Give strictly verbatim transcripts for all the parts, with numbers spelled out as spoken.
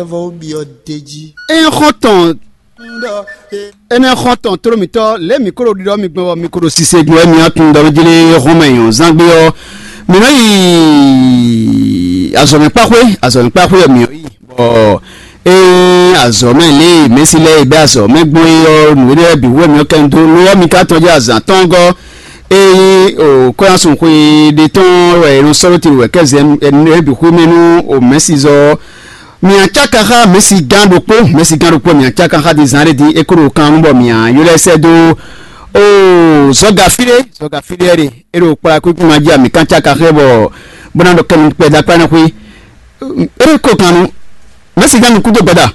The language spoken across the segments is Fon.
Vɔ wó byɔ́ d'é jí. Ényí xɔ́ntɔn ɖɔ é énɛ́ xɔ́ntɔn tló mǐtɔn lě mǐ ko ɖo ɖiɖɔ mi gbɔn bɔ mi ko ɖo sise gbɔn wɛ mi ɔ́ tunwun ɖɔ mí jlé hɔn mɛ nyɔ̌ zán gbé ɔ́, mǐ nɔ yi azɔ̌mɛ kpáxwé, azɔ̌mɛ kpáxwé ɔ́ mǐ nɔ yi bɔ ényí azɔ̌mɛ lě e mɛ̌si lɛ́ɛ yi bɛ́ azɔ̌mɛ gbɔn é ɔ́, nǔ énɛ́ lɛ́ɛ bǐ wú wɛ mǐ nɔ kɛ nyi dó lo ɔ́ mi ka tɔ́n jɛ azǎn tɔn gɔ́. Ényí o kɔ́yánsun xwe ɖé tɔn wɛ è nɔ sɔ́ ɖó te wɛ kɛ́ zɛ ɛnɛ bǐ xwé mɛ nú o mɛ̌sizɔ ɔ́, mǐ acáka xá mɛ̌sigán ɖokpó, mɛ̌sigán ɖokpó mǐ acáka xá din zán ɖé din é kó ɖo kan nú bɔ mǐ ylɔ́ ɛ sɛ́ dó o zɔ́ga fí ɖé, zɔ́ga fí ɖé ɖe é ɖo kplá kúkú ma jí a mǐ kan cáka xá ɛ bɔ bó ná ɖɔ kɛnu kpɛdá kpá ná xwé. É kó kan nú mɛ̌sigán nukún dó gbɛdá.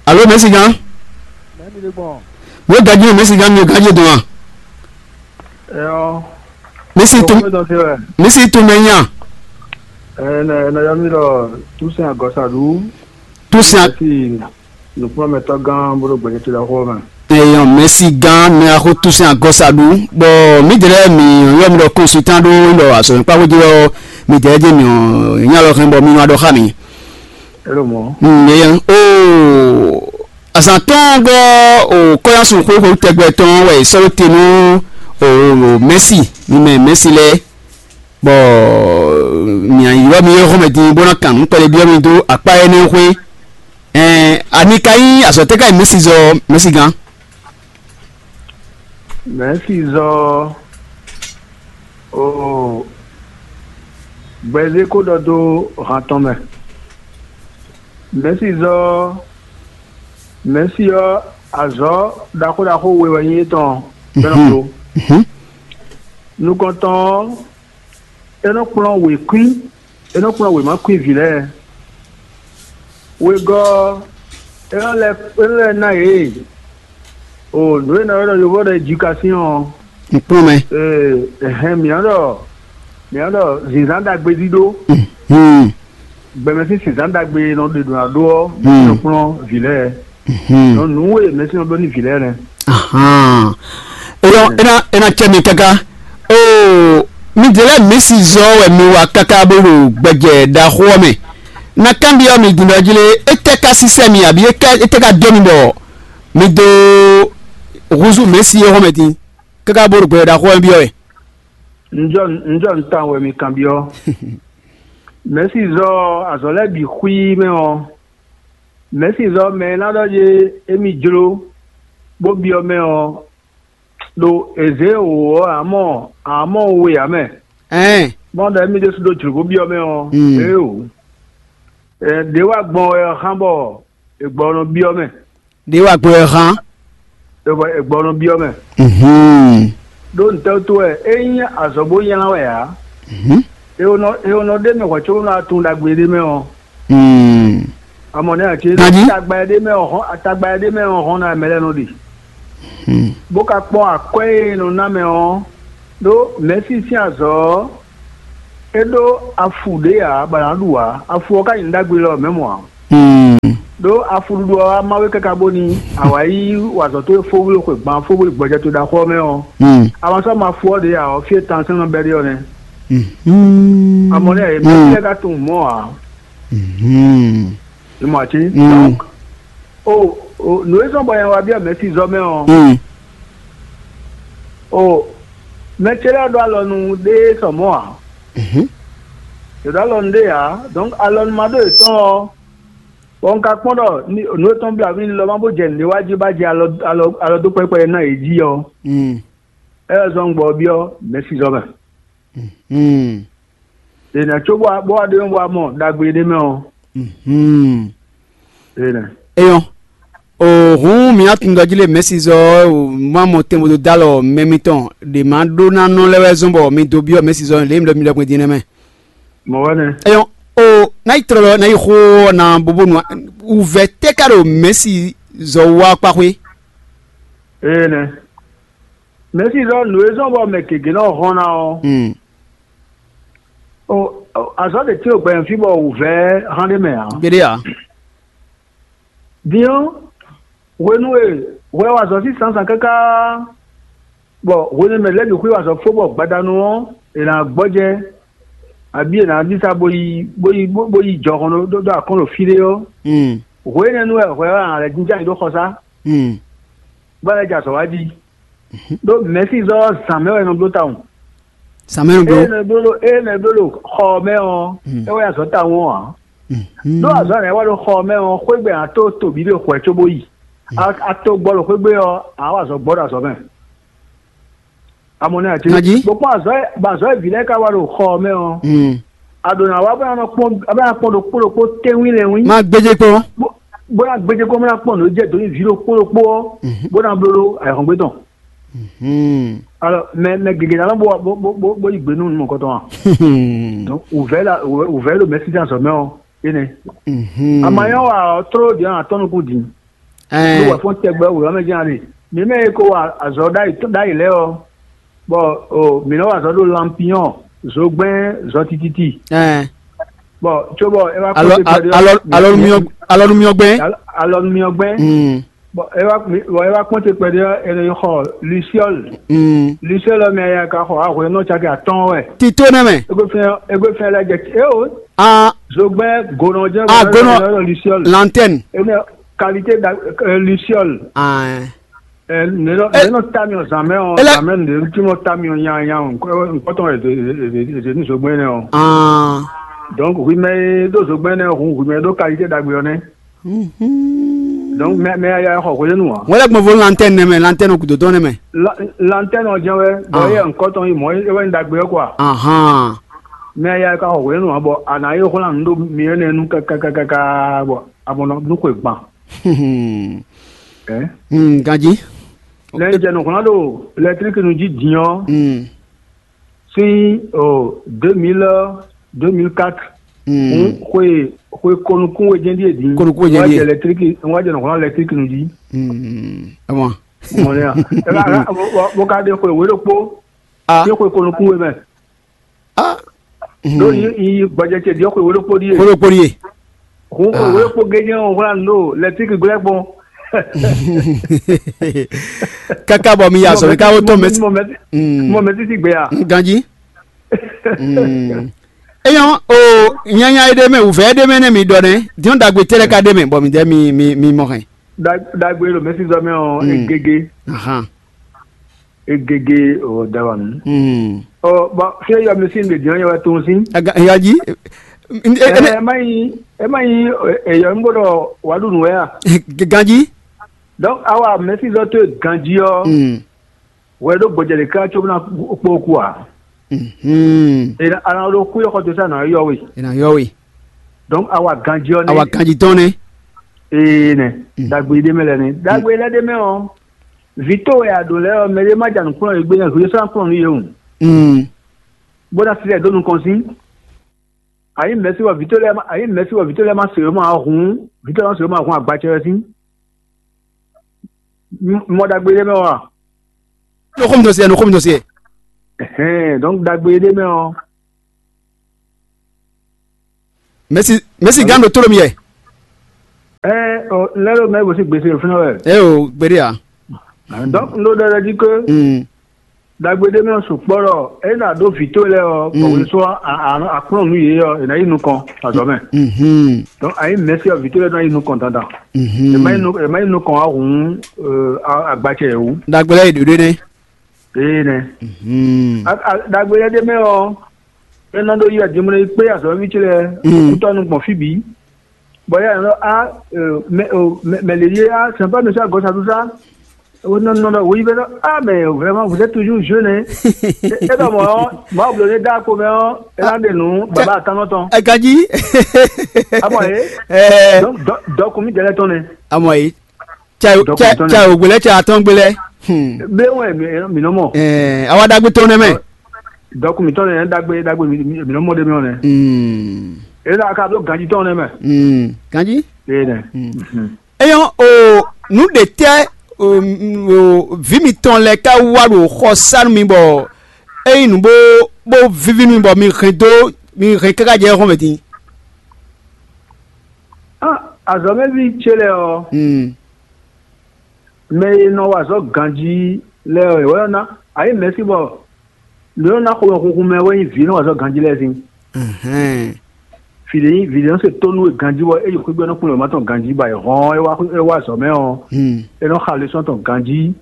Alo mɛ̌sigán? Mɛ̌ mi ɖe gbɔn? Wǒ gají mɛ̌sigán mi gají dɔn a? Ɛyɔ. Misi tún misi tún mɛ nya. Ɛnɛ ɛnɛ yɔ mi ɖɔ túsɛn agɔsaɖu. Túsɛn. Mɛsi nukplɔ́nmɛtɔ́ gán bó ɖo gbɛjɛ to ɖaxó mɛ. Eyɔn mɛsi gán mɛ axó túsɛn agɔsaɖu. Bɔ mǐdɛɛ lɛ́ɛ mǐ yɔ mi ɖɔ kɔnsultan ɖó ɖɔ azɔ̌ nyíkpáxó jí ɔ́, mǐdɛɛ jɛ mǐ nya lɔ hɛn bɔ mi nɔ ɖɔ xá mǐ. Éɖo mɔ̌. Nɛyɛ o azǎn tɔn gɔ́ o kɔ́yásun xwéxwé tɛgbɛ tɔn wɛ è sɔ́ ɖó te nú o mɛ̌si mi mɛ mɛ̌si lɛ́ɛ, bɔ mǐ ylɔ́ mi é xɔmɛ din bó ná kan nǔ kpɛɖé byɔ́ mi dó akpá énɛ́ xwé. Ɛn ani ka nyí azɔ̌ tɛ́ ká nyí mɛ̌si zɔ mɛ̌si gán? Mɛ̌si zɔ o gbɛzé kó ɖɔ dó han tɔn mɛ. Mɛ̌si zɔ mɛ̌si ɔ́ azɔ̌ ɖaxó ɖaxó we wɛ nyí étɔn bɛ́ nɔ bló. Nukɔntɔn ɔ́, é nɔ kplɔ́n wěkwín, é nɔ kplɔ́n wěma kwín vǐ lɛ́ɛ. Wegɔ́ ɔ́, é nɔ lɛ́ é nɔ lɛ́ ná yě o nǔ e è nɔ ylɔ́ ɖɔ yovó ɖɔ éducation ɔ́. Nǔkplɔ́nmɛ. Ɛhɛn mǐ nɔ ɖɔ mǐ nɔ ɖɔ zǐnzán ɖagbe ɖíɖó. Gbɛmɛ sín zǐnzán ɖagbe e nɔ ɖe ɖǒ ná ɖó ɔ́, mǐ nɔ kplɔ́n vǐ lɛ́ɛ. Nɔ nǔ e mɛ̌si nɔ ɖó n'i vǐ lɛ́ɛ nɛ́. Ahan. Eyɔ é ná é ná cɛ mi káká. Oo, mi ɖe lɛ́ɛ mǐ si zɔ wɛ mi wa káká bó ɖo gbɛjɛ ɖaxó ɔ́ mɛ. Na kanbyɔ́ mi din ɖɔ jí lé, étɛ́ ka sísɛ́ mi abǐ étɛ́ ka dó mi bɔ mi dó húzú mɛ̌si é hɔn mɛ din káká bó ɖo gbɛjɛ ɖaxó ɔ́ mɛ byɔ́ wɛ? Un jɔ un jɔ un tawun wɛ mi kanbyɔ́. Mɛ̌si zɔ azɔ̌ lɛ́ɛ bǐ xwíí mɛ ɔ́, mɛ̌si zɔ mɛ e ná ɖɔ yé émí jló bó byɔ́ mɛ ɔ́, ɖo è zě wǒ ɔ́, ǎ mɔ ǎ mɔ we ǎ mɛ. Ɛɛn. Bɔ ɖɔ émí ɖésú ɖó jlǒ bó byɔ́ mɛ ɔ́, Mm. Éeǒ. Ɛ, ɖě wá gbɔn wɛ ɔ́ xán bɔ è gbɔ nɔ byɔ́ mɛ. Ɖě wá gbɔn wɛ hán. È gbɔ è gbɔ nɔ byɔ́ mɛ. Mhm. Ɖó ntɛ́wútu wɛ é nyí azɔ̌ bó nylá wɛ ǎ. Mhm. È nɔ è nɔ ɖ'é mɛ hwɛ̌ có nɔ tunwun ɖagbe ɖé mɛ ɔ́. Mm. Amɔ nɛ́ ǎ cé Nadi? Tagba e ɖ'é mɛ ɔ́ hɔn tagba e ɖ'é mɛ ɔ́ hɔn ná mɛ lɛ́ɛ nɔ ɖe. Mm. Bó ka kpɔ́n akwɛ́ e è nɔ ná mɛ ɔ́, ɖó mɛ̌si sín azɔ̌ ɔ́, é ɖó afu ɖě ǎ bɔ a nǎ ɖu ǎ. Afu ɔ́ ka nyí nǔ ɖagbe lɔ mɛ̌ mɔ̌ ǎ. Mm. Ɖó afuɖuɖu ɔ́ wá má we káká bóni a wǎ yí wa azɔ̌ towe fó wlí xwe gban fó wlí gbɔjɛ towe ɖaxó ɔ́ mɛ ɔ́, Mm. a ma sɔ́ ma fú ɔ́ ɖě ǎ ɔ́, fí e tansɛn nɔ bɛ́ ɖe ɔ́ nɛ́. Mhm. Amɔ nɛ́ ǎ, mɛ Mm. lɛ́ɛ ka tunwun mɔ̌ ǎ. Mhm. Mi mɔ ǎ cé? Mm. Donc, o o nǔ e zɔ́n bɔ nyɛ wá byɔ́ mɛ̌si zɔ mɛ ɔ́, Mm. o mɛ ce lɛ́ɛ ɖó alɔ nú ɖé sɔ mɔ̌ ǎ. Mhm. Yě ɖó alɔ nú ɖé ǎ. Donc alɔ nú ma ɖó yětɔn ɔ́, bɔ un ka kpɔ́n ɖɔ nǔ e tɔn blǎ mì lɔ ma bó jɛ nǔɖé wá jí bá jɛ alɔ alɔ alɔ dó kpɛ́kpɛ́ ná yě jí ɔ́, Mm. é wɛ zɔ́n gbɔ byɔ́ mɛ̌si zɔ mɛ. Mm. È nǎ có bó wá bó wá ɖe bó wá mɔ ɖagbe ɖé mɛ ɔ́. Mm. È nɛ. Eyɔn. O hǔn mi atundɔjí lé mɛ̌sizɔ ɔ́, o má mɔ tɛnbodó dó alɔ mɛ mitɔn ɖě má ɖó ná nɔ lɛ́ wɛ zɔ́n bɔ mi dó byɔ́ mɛ̌sizɔ lě mi ɖɔ mi ɖɔ gbɛn din nɛ́ mɛ. Mɔ̌ wɛ nɛ́. Eyɔn. O ná yi tlɔlɔ ná yi xó ɔ́ ná bóbó nu wǔvɛ́ tɛ́ ká ɖo mɛ̌sizɔ wá kpáxwé. Ee nɛ́. Mɛ̌sizɔ nǔ e zɔ́n bɔ mɛ gěgé nɔ hɔn ná ɔ́, Mm. o o, azɔ̌ ɖě cí ɖo gbɛmɛ fí bɔ wǔvɛ́ hán ɖé mɛ ǎ. Gbeɖé ǎ. Din ɔ́, hwenu e hwɛ wa azɔ̌ sín zǎnzǎn káká, bɔ hwenu e mɛ lɛ́ɛ bǐ xwé wa azɔ̌ fó bɔ gbadanu ɔ́, è nǎ gbɔjɛ́. Abí è nǎ ɖisa bó yi bó yi bó bó yi jɔhɔn ɖó ɖó akɔn ɖo fí ɖé ɔ́, Mm. Hwe énɛ́ nu wɛ hwɛ ɔ́ a lɛ́ jínjɔ́n ayǐ ɖó xɔsá, Mm. bó lɛ́ jɛ azɔ̌ wá jí. Ɖó mɛ̌sizɔ́ ɔ́ zǎn mɛ wɛ è nɔ bló tawun. Zǎn mɛ nɔ bló. Ée è nɔ bló ɖo ée è nɔ bló ɖo xɔ ɔ́ mɛ ɔ́, Mm. É wɛ azɔ̌ tawun ɔ́ ǎ. Mhm. Ɖó azɔ̌ nɛ́ wɛ ɖo xɔ ɔ́ mɛ ɔ́, xwé gbe a tó to bǐ ɖo xwɛ cóbó yi. A a to gbɔ ɖo xwé gbe ɔ́, a wa azɔ̌ gbɔ ɖo azɔ̌ mɛ. Amɔ̌ nɛ́ ǎ cé? Nǎ jí. Bó kpɔ́n azɔ̌ e bɔ azɔ̌ e vǐ lɛ́ɛ ka wa ɖo xɔ ɔ́ mɛ ɔ́, Mm. a ɖǒ ná wá bó ná nɔ kpɔ́n bó ná kpɔ́n ɖokpó ɖokpó tɛ́nwí lɛ́nwí. Má gbéjé kpɔ́n. Bó bó ná gbéjé kpɔ́n bó ná kpɔ́n nǔ jɛ dǒ nyi vǐ ɖokpó ɖokpó ɔ́, Mhm. Bó ná bló ɖó ayǐhɔ́ngbe tɔn. Mhm. Alɔ mɛ mɛ gěgé ná nɔ bó bó bó bó yi gbe nú nǔ mɔ̌kɔtɔn a? Donc wǔvɛ́ la wǔvɛ́ ɖo mɛsídán azɔ̌ mɛ ɔ́, énɛ́. Mhm. Amanyɔ wa ɔ́ tló ɖě ɔ́ atɔ́ nukún din. Ló Ɛɛ, wɛ fɔ́n tɛgbɛ wǔ ɔ́ mɛ jɛ́n a ɖe. Mǐ mɛ e ko wa azɔ̌ ɖ'ayǐ ɖ'ayǐ lɛ́ɛ ɔ́, bɔ o mǐ nɔ́ wa azɔ̌ ɖo lanpinyɔ́, zogbɛ́n, zɔ tititi. Ɛɛ. Bɔ cóbɔ é wá Alɔ kpɔ́n te kpɛɖé ɔ́, alɔ alɔnumiyɔ alɔnumiyɔ gbɛn. Alɔ- alɔnumiyɔ gbɛn. Mm. Bɔ é wá bɔ é wá kpɔ́n te kpɛɖé ɔ́, è nɔ yi xɔ luciole. Mm. Luciole ɔ́ mɛ ya ka xɔ ahwe nɔ caki atɔ́ɔ́n wɛ. Tito nɛ mɛ. Égbé fɛn égbé fɛn lɛ jɛ é o. Ah, Zogbɛ́n gonɔ jɛ Ah, gonɔ. Luciole. Lantɛn. Énɛ́ qualité da euh, luciole. Ah. Ɛ nɛnɔ Eh. Nɛnɔ tamiɔ zanmɛ ɔ Ele- Zanmɛ nde ŋuti mɔ tamiɔ nyanya ɔ nkɔtɔn ɛdɛ ɛdɛ ní zogbɛn nɛ ɔ. Ah. Donc hui mɛ e ɖo zogbɛn nɛ ɔ hun hui mɛ e ɖo qualité dagbe ɔ nɛ. Mhm. Donc mɛ mɛ ya xɔ hwenu wa. Wọ́n lè gbọ́n fún lanterne nɛ mɛ, lanterne kùtò tɔn nɛ mɛ. Lanterne ɔ jẹn wɛ bɔ Ah. Eyɛ nkɔtɔn yi mɔ e wɛ ní dagbe ɔ kɔ a. Ahan. Mɛ ya ka xɔ hwenu wa bɔ a nǎ yi xwlán nǔ ɖo mi ɛnɛ nu kakakaka bɔ a mɔ nɔ xwe gban. Ɛ Hmm, ganjí. Lɛ jɛ nɔxlán ɖo lɛtriki nu jí din ɔ́ Hmm. Sín o deux mille deux mille quatre. Hmm. Xwe xwe konukun we jɛn ɖíe din. Konukun we jɛn Wá ɖíe. Jɛ lɛtriki wá jɛ nɔxlán lɛtriki nu jí. Hmm. Ɛ mɔ. Mɔ nɛ ya. Ɛ ka ka bó ka ɖe xwe wé ɖokpó. Ah. Sín xwe konukun we mɛ. Ah. Ɖó yi yi gbɔjɛ ce ɖiɔ xwe wé ɖokpó ɖíe. Xwe ɖokpó ɖíe. Hun xwe wé ɖokpó gɛjɛ ɔn hwlá nǔ ɖo lɛtíki glɛ́ gbɔn. Káká bɔ mi ya azɔ̌ mi ká wó tɔn mɛ. Mɔ mɛ títí gbé ya. Ganjí. Eyɔn o nyanya e ɖe mɛ wǔvɛ́ e ɖe mɛ nɛ mi ɖɔ nɛ diɔn ɖagbe tɛ́ lɛ́ ka ɖe mɛ bɔ mi dɛ mi mi mi mɔ hɛn. Dagbe ɖo mɛsizɔ mɛ ɔ egege. Ahan. Egege o dawanu. Hmm. Ɔ bɔn fie yɔ mi sin de diɔ yɛ wɛ tun sin. Aga ya ji. Ɛ ɛ ma yi ɛ ma yi ɛ yɔ n gbɔdɔ wadu nu wɛ ya. Ganji. Donc awa mɛsi zɔ to ganji ɔ. Hmm. Wɛ do gbɔdze de ka tso na kpo ku a. Hmm. E na ana do ku yɔ xɔ to sa na yɔ we. E na yɔ we. Donc awa ganji ɔ ne. Awa ganji tɔn ne. Ee nɛ. Hmm. Dagbe de mɛ lɛ ne dagbe lɛ de mɛ ɔ. Vǐ towe e a ɖǒ lɛ́ɛ ɔ́, mɛɖé má ja nǔ kplɔ́n yě gbé, hwesán kplɔ́n nú yě hǔn, bó ná slɛ́ dó nukɔn sín. A nyǐ mɛ̌si bɔ vǐ towe lɛ́ɛ ma, a nyǐ mɛ̌si bɔ vǐ towe lɛ́ɛ ma se wě ma ɔ́ hǔn, vǐ towe lɛ́ɛ ma se wě ma hǔn agba ce wɛ sín. Mɔ ɖagbe ɖé mɛ ɔ́ a? Nɔ xó mi dɔn se, nɔ xó mi dɔn se. Ɛhɛn, donc ɖagbe ɖé mɛ ɔ́, Mɛsi mɛsi gán ɖo tólo mi yɛ. Ɛ ɔ lɛ ɖo mɛ bó sí gbèsè fúnra wɛ. Ɛ o gbéɖé a. Donc n ɖo ɖɔ ɖɔ jí ké, Mm. Dagbe ɖé mɛ sukpɔ́ ɖɔ é ná ɖó vǐ towe lɛ́ɛ ɔ bɔ Mm. wě sɔ́ akplɔ́n nú yě ɔ è nǎ yi nukɔn azɔ̌ mɛ. Mhm. Donc a nyí mɛ̌si ɔ vǐ towe lɛ́ɛ ná yi nukɔn dandan. Mhm. È má yi nu- è má yi nukɔn wá hǔn agbace yě wú. Dagbe lɛ́ɛ yi ɖǒ ɖé nɛ́. Ee nɛ. Mhm. Dagbe lɛ́ɛ ɖé mɛ ɔ, é ná ɖó yi adimlɛ yi kpé azɔ̌ví ce lɛ́ɛ Mm. kútɔ́nu gbɔn fí bǐ. Bɔ yá nɔ a mɛ mɛ lě yé a sɛn pas monsieur à gauche à tout ça. Nɔ nɔ nɔ oui bɛ nɔ ah mais vraiment vous êtes toujours jeune hein. E dɔ mɔ ma blo ne da ko mɛ ɔ e na de nu baba atanɔ tɔn. Ɛ ka ji. Amɔ ye. Ɛɛ. Donc dɔ kun mi jɛlɛ tɔn ne. Amɔ ye. Cɛ cɛ cɛ o gbelɛ cɛ atɔn gbelɛ. Be wɛ mi nɔ mɔ. Ɛɛ awa dagbe tɔn ne mɛ. Dɔkun mi tɔn ne dagbe dagbe mi nɔ mɔ de mi ne. Hmm. E la ka do ganji tɔn ne mɛ. Hmm. Ganji. E ne. Hmm. Eyɔn o nu ɖe tɛ o o vi mitɔn lɛ ka wá ɖo xɔ sanu mi bɔ eyi nu bó bó vivi mi bɔ mi hɛn dó mi hɛn káká jɛ xɔmɛ din. Ah, azɔmɛvi ce lɛ ɔ. Hmm. Mɛ e nɔ wa azɔ̌ ganjí lɛ́ɛ ɔ́, è wɛ ná a nyǐ mɛ̌si bɔ mǐ nɔ ná xomɛhunhun mɛ wɛ nyí vǐ e nɔ wa azɔ̌ ganjí lɛ́ɛ sín. Ɛhɛn. Vǐɖé nyí vǐɖé nɔ se tónú e ganjí bɔ é yi xwé gbe nɔ kplɔ́n mɛ tɔn ganjí ba yi hɔn é wá é wá azɔ̌ mɛ ɔ́, Hmm. é nɔ xa lesɔ́n tɔn ganjí,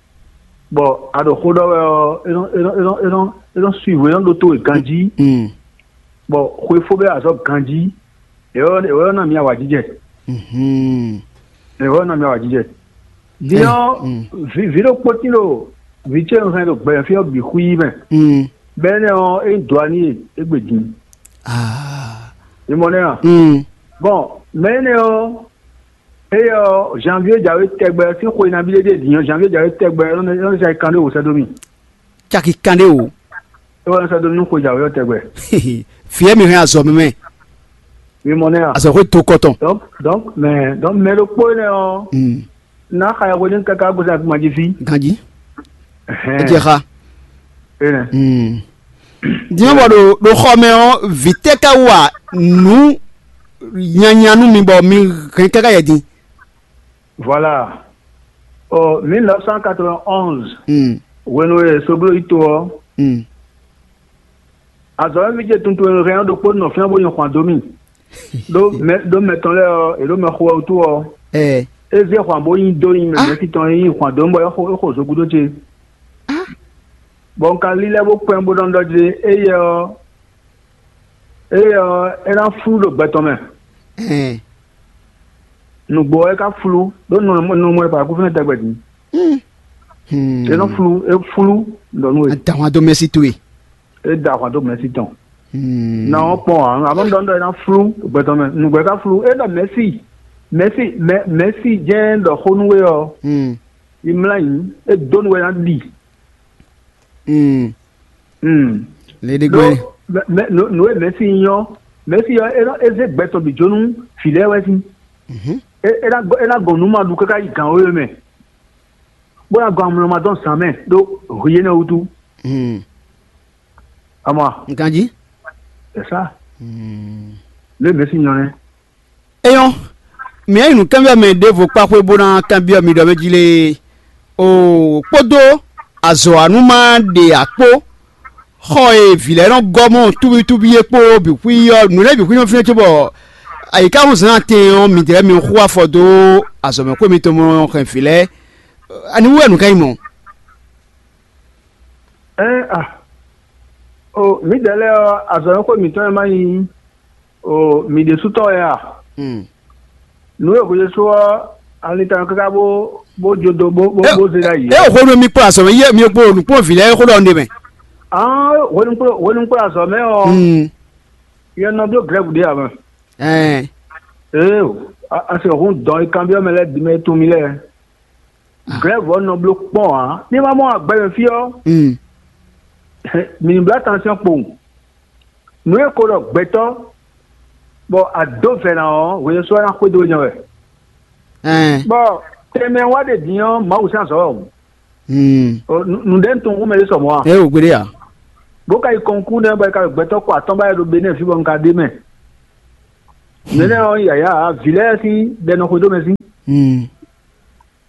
bɔ a ɖo xó ɖɔ wɛ ɔ́, é nɔ é nɔ é nɔ é nɔ é nɔ suivre é nɔ ɖótó we ganjí, Hmm. bɔ xwefó bɛ azɔ̌ ganjí, é wɛ é wɛ nɔ mi awǎjijɛ, Mhm. é wɛ nɔ mi awǎjijɛ. Din ɔ́, Mm. vǐ vǐ ɖokpó tín ɖo vǐ ce un hɛn ɖo gbɛmɛ fí ɔ́ bǐ xwí mɛ. Mm. Bɔ énɛ́ ɔ́, é nyí dɔ̌ ani e égbé din. Ah. Mi mɔ nɛ́ a? Mm. Bɔn mɛ énɛ́ ɔ́, éyɛ́ ɔ́, janvier jǎwe tɛgbɛ sín xwe nabí ɖé ɖíe din ɔ́, janvier jǎwe tɛgbɛ é nɔ é nɔ sɛ kan ɖé wǒ sɛ́ dó mì. Caki kanɖé o. É wɛ nɔ sɛ́ dó mì nú xwe jǎwe ɔ́ tɛgbɛ. Fǐ e mi hɛn azɔ̌ mɛ mɛ. Mi mɔ nɛ́ a? Azɔ̌ xwé do kɔtɔn. Donc donc mɛ donc mɛ ɖokpó énɛ́ ɔ́, Mm. ná xa yɛhweɖin káká gosín akpima jí fí. Ganjí. Ẹhɛn. É jɛ xa. Énɛ́. Mm. Din bɔ ɖo ɖo xɔ mɛ ɔ́, vǐ tɛ́ ka wa nǔ nyanya nú mi bɔ mi hɛn káká yɛ din? Voilà. Ɔ mille neuf cent quatre-vingt-onze, Mm. Hwenu e Soglo yi to ɔ́, Mm. Azɔ̌mɛví ce tuntun e hɛn ɔ́ ɖokpó nɔ fínɛ́ bó nyi xwan dó mì. Ɖó mɛ ɖó mɛ tɔn lɛ́ɛ ɔ́, è ɖǒ mɛ xo wɛ wútu ɔ́, Ɛ. É zé xwan bó nyi dó nyi mɛ Ah. mɛ̌si tɔn e nyi xwan dó mì bɔ é xo é xo zo gúdo ce. Ah. Bɔ un ka lílɛ́ bó kpɛ́n bó nɔ ɖɔ jí éyɛ́ ɔ́, éyɛ́ ɔ́, é ná flú ɖo gbɛ tɔn mɛ. Ɛn. Nǔgbó ɔ́, é ka flú ɖó nɔ nɔ mɔ è kú fínɛ́ tɛgbɛ din. Hmm. É nɔ flú, é flú ɖɔ nú we. Adahwan dó mɛsí towe. É da ahwan dó mɛ̌si tɔn. Hmm. Na ɔ́ kpɔn ǎ, amɔ̌ ɖɔ ɖɔ é ná flú gbɛtɔ́ mɛ, nǔgbɛ ka flú, é ɖɔ mɛ̌si, mɛ̌si, mɛ mɛ̌si jɛ́n ɖɔ xó nú we ɔ́, Hmm. yi mlá nyi, é dó nú we ná ɖi. Hmm. Hmm. Léɖé Ɖó gbɛ́. mɛ- mɛ- nǔ nǔ e mɛ̌si nyí ɔ́, mɛ̌si ɔ́, é nɔ é zé gbɛtɔ́ bǐ jó nú vǐ lɛ́ɛ wɛ sín. Mhm. É é ná gɔn é ná gɔn nǔ ma ɖu káká yi gǎn wéwe mɛ, bó ná gɔn amlɔ ma dɔn zǎn mɛ ɖó hwi énɛ́ wútu. Hmm. Ama Ganjí. Ɛ sá. Hmm. Lě mɛ sín nyɔ nɛ́. Eyɔ́, mǐ yi nǔ kanbyɔ́ mɛ ɖěvo kpá xwé bó ná kanbyɔ́ mi ɖɔ mɛ jí lé. O kpódó azɔ̌wanú ma ɖe akpó, xɔ e vǐ lɛ́ɛ nɔ gɔ́ mɔ túbítúbí é kpó bǐ xwí ɔ́, nǔ lɛ́ɛ bǐ xwí nɔ fínɛ́ cóbɔ ayǐká hɔn zǎn atɛn ɔ́, midɛɛ mi xú afɔ dó azɔ̌mɛxwé mitɔn mɔ hɛn vǐ lɛ́ɛ. Ani wú wɛ nǔ ká nyí mɔ̌? Ɛ́n a, o mǐdɛɛ lɛ́ɛ ɔ́, azɔ̌mɛxwé mǐtɔn e má nyí o mǐ ɖésú tɔn wɛ a? Hmm. Nǔ e hwesú ɔ́, ali tɔn káká bó bó jó dó bó bó bó zé ɖ'ayǐ. É hwenu mi kplɔ́n azɔ̌ mɛ yé mi kplɔ́n nǔkplɔ́nvǐ lɛ́ɛ xó ɖɔ un ɖe mɛ. Ǎn hwenu kplɔ́n hwenu kplɔ́n azɔ̌ mɛ ɔ́, Hmm. yɛ nɔ dó Grɛ́ɛvu ɖé ǎ mɛ. Ɛɛ. Ee, a- a se hun dɔn e kanbyɔ́ mɛ lɛ́ɛ bǐ mɛ e tunwun mì lɛ́ɛ. Glɛ̌vɔ́ nɔ bló kpɔ́n ǎ. Ní ma mɔ agbɛmɛ fí ɔ́, Mm. Mǐ ní bló attention kpowun. Nǔ e ko ɖɔ gbɛtɔ́, bɔ a dǒ vɛ̌ ná ɔ́, hwenu sɔ́ ná xwedó nya wɛ. Ɛn. Bɔ tɛnmɛ wá ɖe din ɔ́, Mawu sín azɔ̌ wɛ o. Mm. Ɔ, nǔ- Nǔɖé un tunwun xú mɛ ɖé sɔ mɔ̌ a? Ɛ o gbéɖé a? Bó ka yi kɔnkú nɛ́ bɔ é ka ɖo gbɛtɔ́ kɔ atɔ́ ba wɛ ɖo Benɛ́ɛ fí bɔ un ka ɖ'é mɛ. Mɛ nɛ́ ɔ́, yǎyá ǎ, vǐ lɛ́ɛ sín ɖɛ nɔ xwedó mɛ sín. Mm.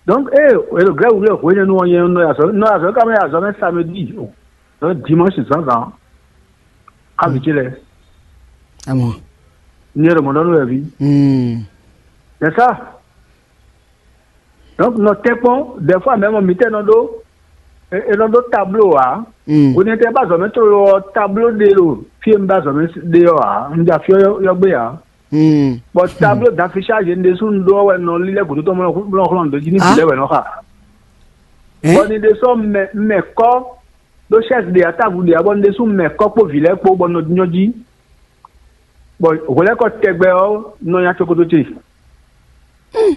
Donc ée è ɖo Glɛ̌ wǔ lɛ́ɛ hwenu ɔ́, nyɛ un nɔ yi azɔ̌ nɔ yi azɔ̌ ká mɛ yi azɔ̌ mɛ samedi o, donc dimanche zǎnzǎn xá vǐ ce lɛ́ɛ. Amɔ. Nyɛ ɖo mɔ̌ ɖɔ nú wɛ ví. Mm. C'est ça. Donc nɔ tɛ́nkpɔ́n des fois même mǐtɛ́ nɔ ɖó è nɔ ɖó tablo ǎ. Mm. Hwenɛ́tɛ́ ba azɔ̌ mɛ tlóló ɔ́, tablo ɖé ɖo fí e un ba azɔ̌ mɛ ɖe ɔ́ ǎ, un ja fí ɔ́ yɔ́gbé ǎ. Hmm. Bɔ tablo d'affichage ɖésú un ɖó ɔ́ wɛ un nɔ lílɛ́ gǔdo tɔn bó nɔ xlɔ́n ɖo jí ní vǐ lɛ́ɛ wɛ nɔ xa. Bɔ ni ɖe sɔ́ mɛ mɛ kɔ́ ɖó chɛ́si ɖe ǎ, távu ɖe ǎ, bɔ ni ɖésú mɛ kɔ́ kpó vǐ lɛ́ɛ kpó bɔ un nɔ nyɔ́ jí. Bɔ hwelɛ́kɔ tɛgbɛ ɔ́ nɔ nya cokoto ce.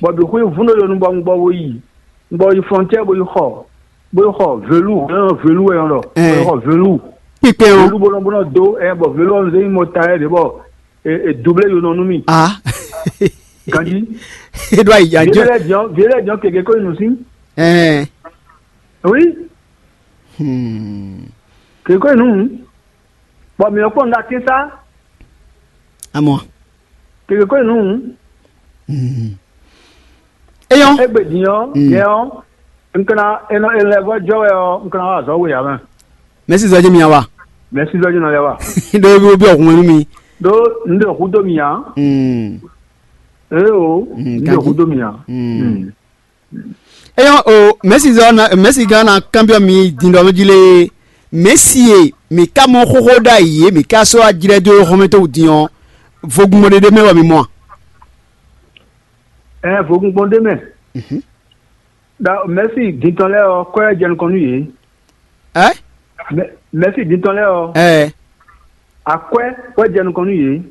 Bɔ bǐ xwí vún ɖó yonu bɔ un gbɔ bo yi un gbɔ yi frontière bo yi xɔ bo yi xɔ velu hɛn velu wɛ yɔn ɖɔ bo yi xɔ velu. Kpikpɛn ɔ́. Velu bó nɔ bó nɔ dó ɛ bɔ velu ɔ́ un zé yi mɔ ta yɛ ɖě bɔ e e double yonɔ nú mi. Ah. Ganji. E ɖo ayi vieɖe ajɔ. Lɛ diɔ vieɖe lɛ diɔ keke ko yi nu si. Ɛɛ. Oui. Hmm. Keke ko yi nu. Bɔ mi yɔ kpɔn ŋga tin sa. Amɔ. Keke ko yi nu. Hmm. Eyɔn. Egbe din ɔ Mm. Yɛ ɔ nkana enɔ elɛvɔ jɔ wɛ ɔ nkana wa azɔ we ya mɛ. Mɛsi zɔji mi awa. Mɛsi zɔji nɔ lɛ wa. Ɖo ebi obi ɔkun wɛnu mi. Ɖó un ɖe hudó mi ǎ. Mm. Éeǒ, Mm, un ɖe ganjí. Hudó mi ǎ. Mm. Mm. Eyɔ́ o, mɛ̌si zɔ na mɛ̌si gán ná kanbyɔ́ mi din ɖɔ mɛ jí lé, mɛ̌si e mǐ ka mɔ xóxó ɖ'ayǐ e mǐ ka sɔ́ wá jlɛ́ dó hɔnmɛ toxo din ɔ́, vogbingbɔn ɖé ɖé mɛ wɛ mi mɔ a? Ɛɛ, vogbingbɔn ɖé mɛ. Mhm. Ɖa mɛ̌si din tɔn lɛ́ɛ ɔ́, kɔ́ wɛ jɛ nukɔn nú yě. Ɛ? Mɛ- Mɛ̌si din tɔn lɛ́ɛ ɔ́, Ɛ. Akwɛ́ wɛ jɛ nukɔn nú yě.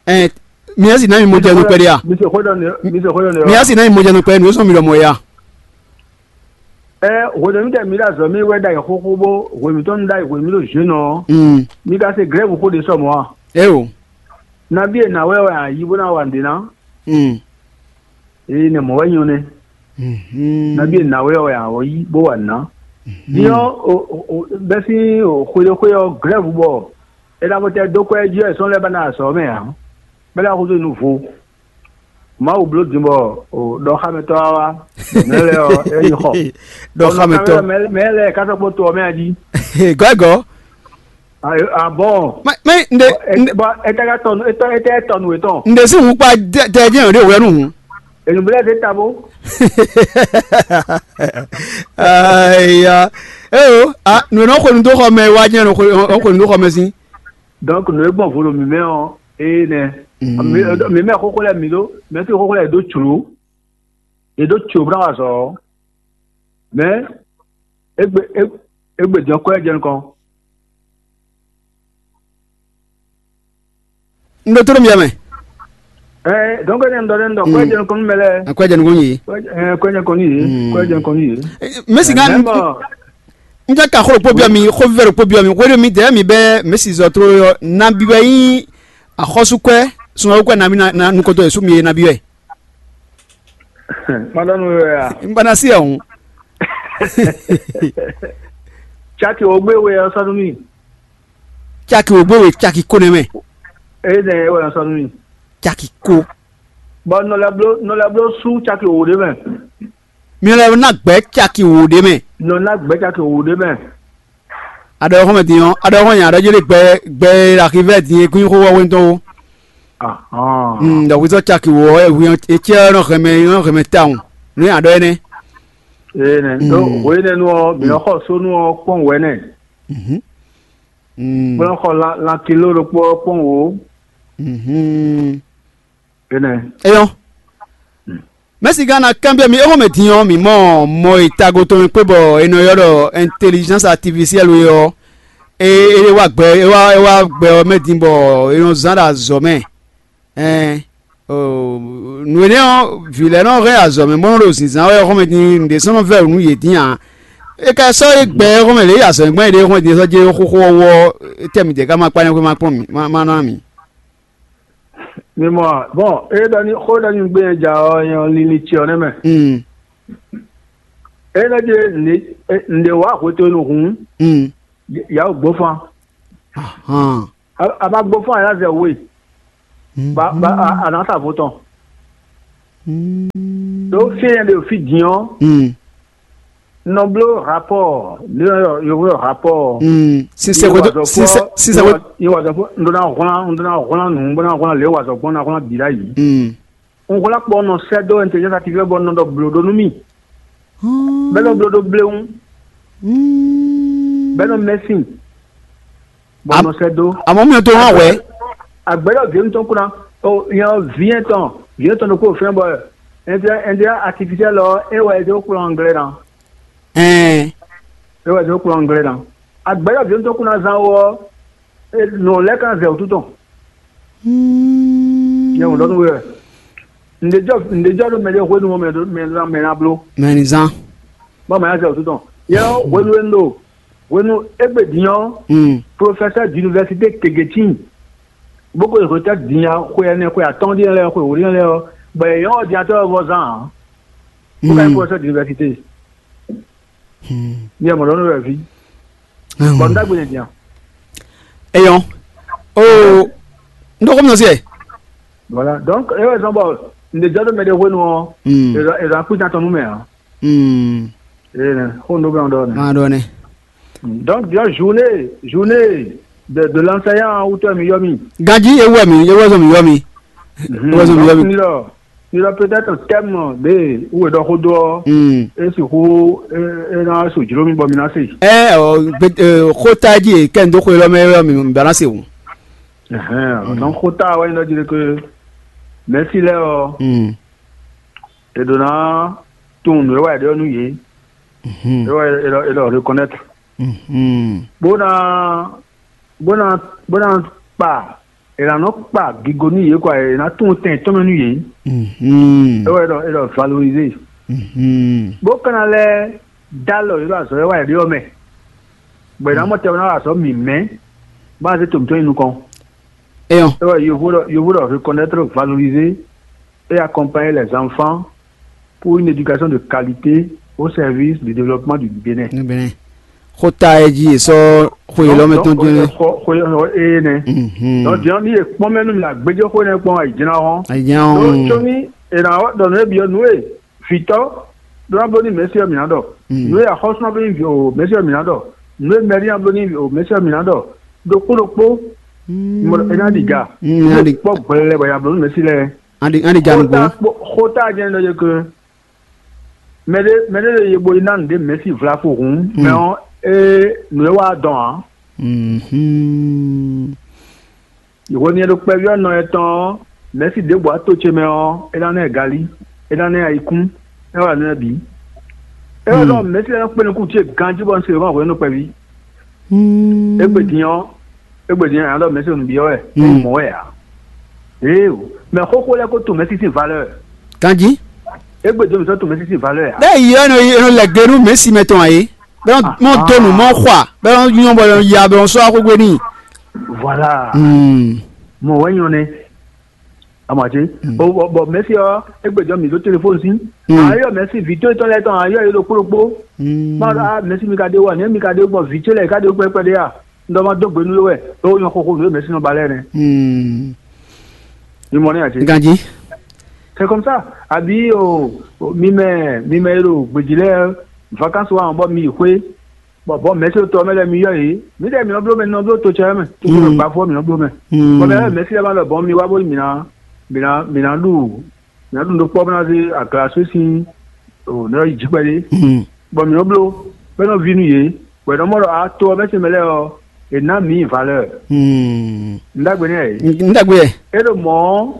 Ɛ. Mɛ̌si ná mi mɔ jɛ nukpɛ ɖé a? Mi se xó ɖɔ nɛ, mi se xó ɖɔ nɛ. Mɛ̌si ná mi mɔ jɛ nukpɛ nǔ sɔn mi ɖɔ mɔ ya. Ɛ, hwenu mi ɖe mi ɖo azɔ̌ mi wɛ ɖ'ayǐ xóxó bó hwenu tɔn nu ɖ'ayǐ hwenu mi ɖo zhwǐn ɔ́, Mm. Mi ka se glɛ̌vu xó ɖé sɔ mɔ̌ a? Eo. Nabí e nǎ wɛ wɛ a yí bó ná wa nǔɖé ná? Mm. Ée nɛ mɔ̌ wɛ nyɔ́ nɛ́. Mhm. Nabí e nǎ wɛ wɛ a wɔ yí bó wa nǔ ná? Din ɔ́, o- o- o- bɛ́ sín o xwéɖéxwé ɔ́ glɛ̌vu bɔ è ná ko tɛ dó kwɛ́ jí wɛ sɔ́ lɛ́ɛ ba ná azɔ̌ mɛ ǎ. Bɛ́ lɛ́ɛ xúzú nǔ vo. Mawu bló din bɔ ɖɔxámɛtɔ́ wá wá, bɔ mɛ̌ lɛ́ɛ ɔ́, é nyí xɔ. Ɖɔxámɛtɔ́. Mɛ lɛ́ɛ ka sɔ́ kpó to ɔ́ mɛ a jí. Gɔ̌ gɔ̌. Abɔn. Mɛ nde nde Bɔ etɛ́ ka tɔnu etɔ́ etɛ́ tɔnu etɔn. Nde sín hun kpa tɛ jẹ́ ìrìn òwe nù hun. Ènùbílẹ̀ ṣe tabo. Aya. Eyo, a nù nɔ xwenu dó xɔ mɛ wá jẹ́ nɔ xwenu dó xɔ mɛ sín. Donc nù e gbɔn vo ɖo mǐmɛ ɔ́, ée nɛ́. Mm. Mǐmɛ xóxó lɛ́ɛ mǐ ɖó, mɛ̌ sín xóxó lɛ́ɛ è dó jlǒ. È dó jlǒ bó ná wa azɔ̌ ɔ́. Mɛ̌ égbé égbé din ɔ́ kɔ́ ɛ jɛ nukɔn. Un ɖo tlóló mì mɛ. Ɛɛ, donc ne un dɔ ne un dɔ kɔ́ ɛ jɛ nukɔn nú mɛ lɛ́ɛ. Akɔ́ ɛ jɛ nukɔn yìí. Kɔ́ ɛ jɛ nukɔn yìí. Kɔ́ ɛ jɛ nukɔn yìí. Mɛ̌si ŋá Mɛ̌ mɔ n jɛ ka xó ɖokpó byɔ́ mi, xó vívɛ́ ɖokpó byɔ́ mi, hwéɖé mi dɛ̌ mi bɛ́ mɛ̌si zɔ tlóló ɔ́, nabí wɛ nyí axɔ́súkwɛ́ sunɔ́kwɛ́ nabí na nukɔntɔn Yɛsu mi e nabí wɛ. Má ɖɔ nú we wɛ a? Un ba ná sí ɛ hǔn. Caki wǒ gbé we ɔ́ sɔ́ nú mì. Caki wǒ gbé we caki ko nɛ́ mɛ. Ée nɛ é wɛ ɔ́ sɔ́ nú mì. Caki ko. Bɔ nɔ lɛ́ bló nɔ lɛ́ bló sú caki wǒ ɖé mɛ. Mi lɛ́ ná gbɛ̌ caki wǒ ɖé mɛ. Nɔ ná gbɛ̌ caki wǒ ɖé mɛ. Aɖɔ xɔmɛ din ɔ́, aɖɔ xɔmɛ nya aɖɔ jeli gbɛ gbɛ e ɖo axivɛ din e kún nyí xó wɛ hwenu tɔn ó. Ahɔn. Mm, ɖɔ hwesɔ caki wɔ ɛ hwi ɔ́, e cɛ ɔ́ nɔ hɛmɛ nɔ hɛmɛ tawun. Nú aɖɔ énɛ́. Ee nɛ. Mm. Donc hwe énɛ́ nu ɔ́, mǐ nɔ xɔ sónú ɔ́ kpɔ́n wɛ̌nɛ. Mhm. Mm. Bó nɔ xɔ lan lan kilo ɖokpó ɔ́ kpɔ́n wǒ. Mhm. Énɛ́. Eyɔ́. Mɛ̌si gán ná kanbyɔ́ mi éhɔ́mɛ din ɔ́, mǐ mɔ mɔ e tago tɔn e kpé bɔ è nɔ ylɔ́ ɖɔ intelligence artificielle é ɔ́, é é wá gbɛ é wá é wá gbɛ ɔ́ mɛ din bɔ è nɔ zán ɖo azɔ̌ mɛ. Ɛn nǔ énɛ́ ɔ́, vǐ lɛ́ɛ nɔ hɛn azɔ̌ mɛ bó nɔ ɖo zǐnzán wɛ éhɔ́mɛ din nǔɖé sɔ́ nɔ vɛ́ nǔ yě dín ǎ. É ka sɔ́ é gbɛ éhɔ́mɛ lě azɔ̌ e gbɔn é ɖe éhɔ́mɛ din sɔ́ jɛ xóxó ɔ́ wú ɔ́, étɛ́ mi jɛ ká ma kpá nyɔ́ xwé ma kpɔ́n mì má má ná mì. Mi mɔ a? Bon, é ɖɔ ní xó ɖɔ ní gbé nyɛ ja ɔ́ nyɛ ɔ́ linlin ce ɔ́ nɛ́ mɛ. Mm. É nɔ ɖi nǔɖé wá hwetɔ́nu hǔn, Mm. Yǎ wǒ gbófán. Ahan. A ma gbófán a yá zɛ we. Mm. Ba ba a nǎ sa vo tɔn. Mm. Ɖó fí nyɛ ɖe fí din ɔ́. Mm. Nɔ bló rapɔ́ɔ, nǔ e yɔ́ yɔ́vú ɖɔ rapɔ́ɔ. Mm. Sinsɛ hwedó sinsɛ sinsɛ hwedó. Yé wazɔ fún un ɖó ná hwlán un ɖó ná hwlán nǔ bó ná hwlán lě wazɔ gbɔn ná hwlán bǐ ɖ'ayǐ. Mm. Un hwlán kpɔ nɔ sɛ́ dó intelligence artificielle bɔ un nɔ ɖɔ blǒ ɖó nú mì. Bɛ́ nɔ bló ɖó bléwún. Bɛ́ nɔ mɛ́sin. Bɔ un nɔ sɛ́ dó. Àmọ́ mi ò tó hàn wɛ̌. Àgbɛ̌ ɖɔ vǐ tɔn kú ná. Ó nyɛ ɔ́ vǐ tɔn vǐ tɔn ɖokpó fɛ́n bɔ intelligence artificielle ɔ́ é wɛ é dó kplɔ́n anglais ná. Ɛn. É wɛ é dó kplɔ́n anglais ná. Àgbɛ̌ ɖɔ vǐ tɔn kú ná zán ó ɔ́, nɔ lɛ́ kan zɛ wǔtu tɔn. Nyɛ wǒ ɖɔ nú we wɛ. Ǹdejɔ ǹdejɔ ɖo mɛ ɖé hwenu ɔ́ mɛ ɖo mɛ ná mɛ ná bló. Mɛ ní zán. Bɔ mɛ ná zɛ wǔtu tɔn. Yɛ ɔ́ hwenu e un ɖo hwenu égbé din ɔ́, Mm. Professeur d'université gěgé tíin. Bó ko hwetɛ́ din ya xwe ɛnɛ xwe atɔ́ɔ́n ɖíe lɛ́ɛ xwe wǒ ɖíe lɛ́ɛ ɔ́, bɔ yě nyɔ́ ordinateur ɔ́ vɔ zán ǎ. Bó ka nyí Mm. Professeur d'université. Hmm. Ní ẹ mɔ ɖɔ nú wɛ ví. Bɔ un ɖagbe nyɛ din. Eyɔn. Oo. N ɖo xɔmɛ nɔ se. Voilà. Donc e wɛ zɔn bɔ n ɖe jɔ ɖo mɛ ɖe hwenu ɔ. Hmm. E zɔn e zɔn akpita tɔn nú mɛ ɔ. Hmm. E ne xo n ɖo bɛ n ɖɔ ne. Ma ɖɔ ne. Donc bien journée journée. De de l'enseignant wútu wɛ mi yɔ mi. Ganjí ewú wɛ mi ewú wɛ zɔn mi yɔ mi. Mhm. Ewú wɛ zɔn mi yɔ Donc, mi. Nilɔ nilɔ peut-être thème ɖe wú e ɖɔ xó dó ɔ, Hmm. E sixú e e ná so jló mi bɔ mi ná se. Ɛ ɔ gbe ɛ xóta jí e kɛ n dó xwe lɔ mɛ yɔ mi mi ba ná se o. Ɛhɛn, donc xóta wɛ nyí ɖɔ jí ɖe ke mɛsi lɛ ɔ, Hmm. E ɖo ná tunwun nǔ e wɛ ɖe ɔ́ nú yě. Mhm. E wɛ e ɖɔ e ɖɔ reconnaître. Mhm. Bó ná bó ná bó ná kpa è nǎ nɔ kpa gigo nú yě kɔ è nǎ tunwun tɛn tɔn mɛ nú yě. Mhm. É wɛ ɖɔ é ɖɔ valoriser. Mhm. Bó ka ná lɛ́ dó alɔ yě ɖo azɔ̌ e wa yě ɖe ɔ́ mɛ, bɔ è nǎ mɔ tɛn bó ná wa azɔ̌ mǐmɛ́, bó ná zé to mǐtɔn nyi nukɔn. Eyɔn. É wɛ yovo ɖɔ yovo ɖɔ reconnaître, valoriser et accompagner les enfants pour une éducation de qualité au service du développement du Bénin. Ní Benin. Xota e jí e sɔ́ xwe lɔ mɛ tɔn jɛnɛ. Xɔ xɔ xɔ eye nɛ. Mhm. Donc diɔ ni e kpɔn mɛ nu mi agbɛjɛ xɔ nɛ kpɔn ayi jɛna hɔn. Ayi jɛna hɔn. Donc tso ni e na wɔ dɔn ne bi ɔ nu e vitɔ ɖo na blo ni mɛsi ɔ mi na dɔ. Mm. Nu e axɔsɔ na blo ni o mɛsi ɔ mi na dɔ. Nu e mɛri na blo ni o mɛsi ɔ mi na dɔ. Ɖokpo ɖokpo. Mm. E na ɖi ga. Mm, e na ɖi. Kpɔ gbɛlɛ bɔ ya blo ni mɛsi lɛ. An ɖi an ɖi ja nǔgbó. Xota kpo xota jɛn ɖɔ yeke. Mɛɖe mɛɖe ɖe ye bo yi ná nǔɖé mɛ̌si vlafo hǔn, mɛ ɔ́, é nǔ e wa dɔn ǎ. Mhm. Yǒhwenu e ɖo kpɛví ɔ́ nɔ ɛ tɔn ɔ́, mɛ̌si ɖěbǔ ato ce mɛ ɔ́, é ná ná ɛ galí, é ná ná ɛ ayikún, é wá nǔ lɛ́ɛ bǐ. É wá ɖɔ mɛ̌si lɛ́ɛ nɔ kpé nukún ce ganjí bɔ un se hɔn hwenu kpɛví. Égbé din ɔ́, égbé din ɔ́, nya ɖɔ mɛ̌si ɖo nǔ byɔ́ wɛ, é nyí mɔ̌ wɛ ǎ. Éeǒ, mɛ xóxó lɛ́ɛ ko tunwun mɛ̌si sín valeur. Ganjí. Égbé din ɔ́, mǐ sɔ́ tunwun mɛ̌si sín valeur ǎ. Bẹ́ẹ̀ yí ɔ́ nɔ yi nɔ lɛ gbe nú mɛ̌si mɛ tɔn ǎ é. Bɛ́ nɔ mɔ dó nǔ mɔ xɔ a, bɛ́ nɔ nyɔ́ bɔ nɔ ya bɔ nɔ sɔ́ wá xwé gbe n'i. Voilà. Hmm. Mɔ̌ wɛ nyɔ́ nɛ́. Amɔ̌ ǎ cé? Mm. Bɔ bɔ bɔ mɛ̌si ɔ́, égbé jɔ mǐ ɖó telefóni sí. Mm. Ayɔ mɛ̌si vǐ tó tɔn lɛ́ɛ tɔn ayɔ yě ɖokpó ɖokpó. Mm. Má ɖɔ á mɛ̌si mi ka ɖe wɔ nɛ̌ mi ka ɖe gbɔn vǐ ce lɛ́ɛ ka ɖe gbɛ́ kpɛɖé a? Un ɖɔ ma dó gbe nú we wɛ, é wó nyɔ xóxó nǔ e mɛ̌si nɔ ba lɛ́ɛ nɛ́. Mm. Mi mɔ nɛ́ ǎ cé? Ganjí. C'est comme ça. Àbí o o, mi mɛ mi mɛ e ɖo gbějí lɛ́ɛ vacances wa bɔ mi yi xwé. Bɔ bɔ mɛ̌si tɔ mɛ lɛ́ɛ mi yɔ yě. Mǐdɛɛ mǐ nɔ bló mɛ nɔ bló to ce mɛ. To ce mɛ gbafɔ mǐ nɔ bló mɛ. Bɔ mɛ lɛ́ɛ mɛ̌si lɛ́ɛ ma ɖɔ bɔn mi wá bóni mǐ ná mǐ ná mǐ ná ɖu mǐ ná ɖu nǔ ɖokpɔ́ bó ná zé agla só sín o nɔ yi jí kpɛɖé. Bɔ mǐ nɔ bló bɔ é nɔ ví nú yě. Bɔ è nɔ mɔ ɖɔ a to ɔ́ mɛ̌si mɛ lɛ́ɛ ɔ́, è nǎ mǐ valeur. Un ɖagbe nɛ́ ǎ é. Un ɖagbe ɛ. É ɖo mɔ̌ ɔ́,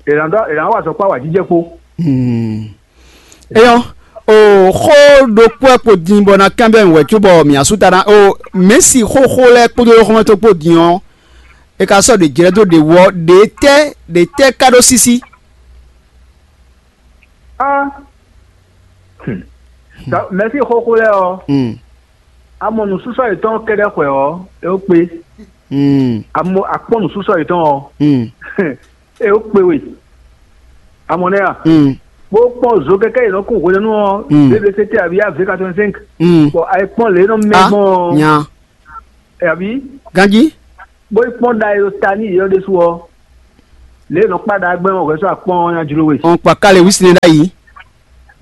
è nǎ ɖɔ è nǎ wa azɔ̌ kpó awǎjijɛ kpó. Eyɔ́, o xó ɖokpó wɛ kpo din bɔ ná kanbyɔ́ mì wɛ cóbɔ mǐ asú ta ná o mɛ̌si xóxó lɛ́ɛ kpódó xɔ́mɛtɔ́ kpó din ɔ́, è ka sɔ́ ɖě jlɛ́ dó ɖě wú ɔ́, ɖě tɛ́ ɖě tɛ́ ka ɖó sísí? Ah. Hmm. Mɛ̌si xóxó lɛ́ɛ ɔ́, a mɔ nǔsúsɔ yětɔn kɛ́ɖɛ́ xwɛ ɔ́, é ó kpé. A mɔ a kpɔ́n nǔsúsɔ yětɔn ɔ́, é ó kpé we. A mɔ nɛ́ a? Bó kpɔ́n zo kɛ́kɛ́ yě nɔ kún hwenɛ́nu ɔ́, B B C T abǐ A V quatre-vingt-cinq. Bɔ a yi kpɔ́n lě e nɔ mɛ gbɔn ɔ́, nya. Abǐ ganjí. Bó yi kpɔ́n ɖa e ɖo ta n'i yě ɔ́ ɖésú ɔ́, lě e nɔ kpá ɖa gbɛ́ ɔ́ hwɛ̌ sɔ́ akpɔ́n ɔ́ ná jló we. Ɔn kpa kále wísine ɖ'ayǐ.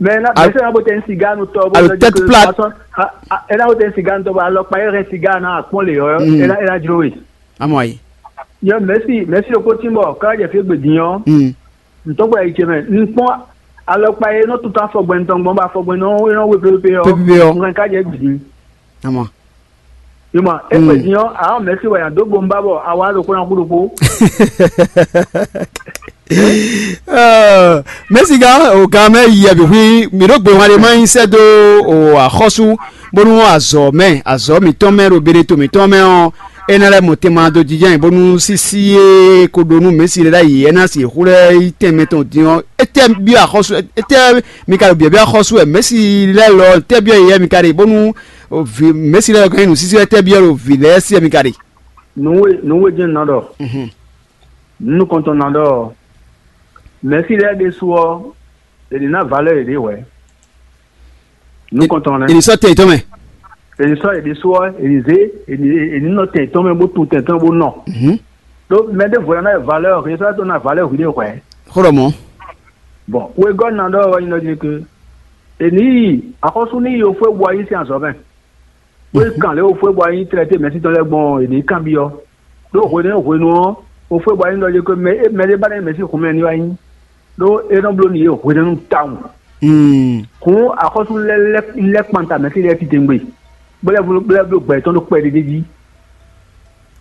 Mɛ ná mɛ sɛ́ ná bó tɛ ní sigá nu tɔ bó alo lɔ tête plate. Ɛ ná bó tɛ ní sigá nu tɔ bó alɔkpa e hɛn sigá ná akpɔ́n lě ɔ́, é ná é ná jló we. Amɔ ayi. Yɔ mɛ̌si mɛ̌si ɖokpó tín bɔ ká jɛ fí gbe din ɔ́, ntɔ́gbɔ yi ce mɛ, un kpɔ́n alɔkpa e nɔ tuntun afɔgbɛn tɔn gbɔn bɔ afɔgbɛn nɔ é nɔ we pépépé ɔ́, Pépépé ɔ́. Un hɛn ká jɛ gbe din. Amɔ. Ima, égbé din ɔ́, a mɛ̌si wɛ a dǒ gbo un ba bɔ a wá ɖokpó ná kú ɖokpó. Mɛ̌si gán o gán mɛ yi ɛbí hui mǐ ɖó gbe hwan ɖé má nyí sɛ́ dó o axɔ́sú bónú azɔ̌ mɛ azɔ̌ mǐtɔn mɛ ɖo beɖe to mǐtɔn mɛ ɔ́, é ná lɛ́ mɔ tɛnmɛ dó jijɛ nyi bónú sísí e ko ɖó nú mɛ̌si lɛ́ɛ ɖ'ayǐ é ná sixú lɛ́ yí tɛnmɛ tɔn din ɔ́, étɛ́ byɔ́ axɔ́sú étɛ́ mi ka ɖo byɔ̌byɔ́ axɔ́sú wɛ mɛ̌si lɛ́ɛ lɔ étɛ́ byɔ́ yeyɛ́ mi ka ɖe bónú mɛ̌si lɛ́ɛ lɔ gán nyí nǔsísí étɛ́ byɔ́ ɖo vǐ lɛ́ɛ sí wɛ mi ka ɖe? Nǔwe nǔwe jɛ́n un ná ɖɔ. Nǔ nukɔntɔn ná ɖɔ mɛ̌si lɛ́ɛ ɖésú ɔ́, è nǐ ná valeur yěɖée hwɛ̌. Nukɔntɔn nɛ́. È nǐ sɔ́ tɛ yětɔn mɛ. È nǐ sɔ́ yě ɖésú ɔ́, è nǐ zé è nǐ è nǐ nɔ tɛ yětɔn mɛ bó tun tɛ yětɔn mɛ bó nɔ. Ɖó mɛ ɖěvo ná ná valeur, è sɔ́ tó ná valeur hwi ɖé hwɛ̌. Xó ɖɔ mɔ̌. Bon, wegɔ́ ná ɖɔ wɛ nyí ɖɔ jí ke è nǐ yi axɔ́sú ní yi ofó e bu ayí sín azɔ̌ mɛ. Bó yi kan lě wo fó e bɔ wá nyí tlɛtɛ́ mɛ̌si tɔn lɛ́ɛ gbɔn è nǐ kanbyɔ́. Ɖó hwenu e hwenu ɔ́, wo fó e bɔ wá nyí ɖɔ yě ko mɛ mɛ ɖé ba ná nyí mɛ̌si xunmɛ ní wá nyí. Ɖó é nɔ bló nǔ yě hwenɛ́nu tawun. Hǔn axɔ́sú lɛ́ɛ lɛ́ kpanta mɛ̌si lɛ́ɛ titewungbe, bó lɛ́ bló bó lɛ́ bló gbɛ yětɔn ɖó kpɛɖé d'é jí.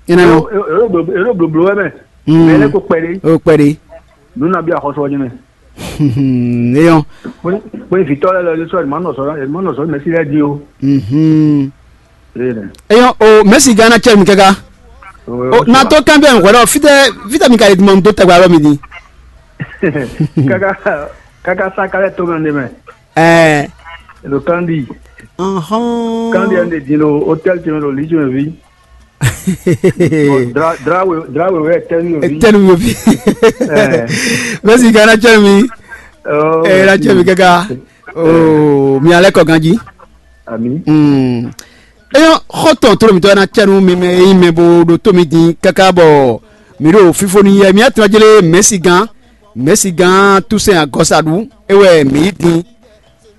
Énɛ́ ɔ́, È ɖo blǒ- è ɖo blǒbló wɛ mɛ. Mɛ lɛ́ɛ ko kpɛɖé. Ó kpɛɖé. Nǔ nabí axɔ́sú ɔ́ jɛ́n mɛ. Éyɔn. Bó ní bó ní vǐtɔ́ lɛ́ɛ lɔ ɖésú ɛ̀dùnmánɔsɔ ɛ̀dùnmánɔsɔ mɛ̌si lɛ́ɛ dín o. Énɛ́. Éyɔn o mɛ̌si gán ná cɛ mi káká. O na tó kán bɛ́ hwɛ̌ ɖɔ fítɛ́ fítɛ́ mi ka ɖe dun dó tɛgbɛ alɔ mi din. Káká káká sá kálẹ̀ tó mɛ ɖé mɛ. Ɛɛ. Ɖo kandi. Kandi ɛn de din ɖo hôtel ce mɛ ɖo lǐ ce mɛ ví. Dra dra we dra we wɛ tɛnu yo vi. Tɛnu yo vi. Mɛsi gana cɛ mi. Ɛ la cɛ mi kaka. Oo mi alɛ kɔ ganji. Ami. Eyɔn xɔtɔn toro mitɔ na cɛnu mi mɛ eyi mɛ bo ɖo to mi din kaka bɔ mi ɖo fifo ni yɛ mi atɔn jele mɛsi gan mɛsi gan tusɛn agɔsaɖu ewɛ mi yi din.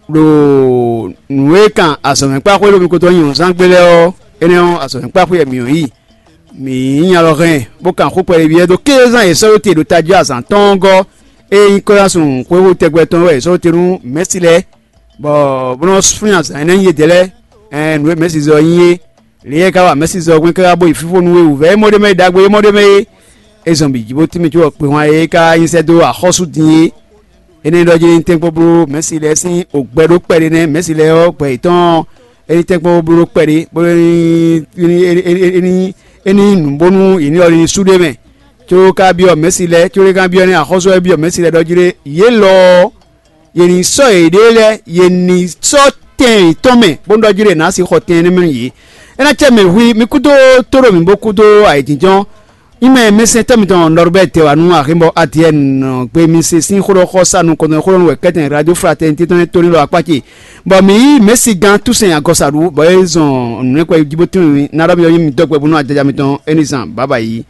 Ɖo nǔ e kan azɔ̌mɛkpáxwé ɖo mi ko dó nyi wǔnzán gbé lɛ́ɛ ɔ́, énɛ́ ɔ́, azɔ̌mɛkpáxwé wɛ mǐ nɔ yi. Mǐ nyí alɔ hɛn, bó kan xó kpɛɖé byɔ́ dó kézán e sɔ́ ɖó te ɖo tají azǎn tɔn ɔ́ gɔ́. Ée nyí kɔ́yásun xwéxú tɛgbɛ tɔn wɛ è sɔ́ ɖó te nú Mɛ̌si lɛ́ɛ, bɔ bó nɔ́ flín azǎn énɛ́ nyi yědɛɛ lɛ́ɛ. Ɛn nǔ e Mɛ̌si zɔ ɔ́ nyí é. Lě e é ka wa Mɛ̌si zɔ hwɛ́n káká bó yi fífó nú é wǔvɛ́ é mɔ ɖ'é mɛ é ɖagbe é mɔ ɖ'é mɛ é. É zɔn bǐ jí bó tínmɛ có kpehwan e é ka nyi sɛ́ dó axɔ́sú din é. Énɛ́ ɖɔ jí ní tɛ́nkpɔ́n bló Mɛ̌si lɛ́ɛ sín ògbɛ ɖó kpɛɖé nɛ́, Mɛ̌si lɛ́ɛ ɔ́ gbɛ yětɔn ɔ́, é ní tɛ́nkpɔ́n bló kpɛɖé, bó é ní é ní é ní é ní nǔ bónú yě ní ɔ́ ní sú ɖ'é mɛ. Có ka byɔ́ Mɛ̌si lɛ́ɛ, có é ka byɔ́ nɛ́ axɔ́sú wɛ byɔ́ Mɛ̌si lɛ́ɛ ɖɔ jí ɖé, yě lɔ ɔ́, yě ní sɔ́ yěɖée lɛ́ɛ, yě ní sɔ́ tɛn yětɔn mɛ, bónú ɖɔ jí ɖé è nǎ sixɔ tɛn énɛ́ mɛ nú yě. É ná cɛ mɛ hui, mi kúdó tóɖo mǐ bó kúdó ayǐjínjɔ́n. Nyí mɛ mɛsɛntɔ́ mitɔn Nɔrubɛ́ Dɛwanu Ahinbɔ Adiyɛ́ɛn gbe mi se sín xó ɖɔ xɔ sa nukɔntɔn xó ɖɔ nú wɛ kɛ́tɛn Radio Fraternité tɔn e tónú ɖo akpá ce, bɔ mǐ yí Mɛ̌si gán Túsɛn Agɔsaɖu, bɔ é zɔn nǔnywɛ́kpɛ́ jí bó tunwun mì ná ɖɔ mi ɔ́ nyí mi dɔ́ gbɛ bónú ajɔjɔ mitɔn é ní zan bǎbǎ yí.